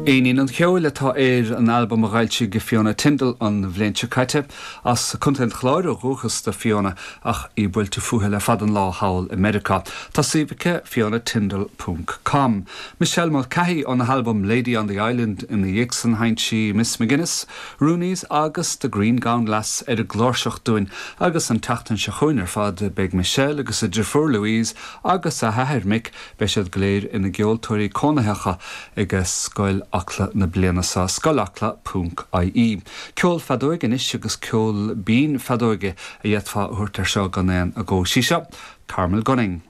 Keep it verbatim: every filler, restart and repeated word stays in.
Éinín an Cheoil atá ar an albam a d'fhoilsigh Fiona Tyndall an bhliain seo caite as Contae an Chláir ó dhúchas do Fiona ach í buailte fúithi le fada an lá thall i Meiriceá. Tá suíomh aici fionatyndall.com. Michelle Mulcahy óna halbam Lady on the Island ina dhiaidh san sheinn sí Miss McGuinness, Rooney's agus the Green Gown Lass ar an gcláirseach dúinn agus an tseachtain seo chugainn ar fad beidh Michelle agus a deirfiúr Louise agus a hathair Mick beidh siad go léir ina gceoltóirí cónaitheacha ag Scoil Acla na bliana seo scoilacla.ie. Ceol feadóige anois agus ceol binn feadóige a d'fhéadfá a thabhairt air seo gan aon agó sí seo, Carmel Gunning.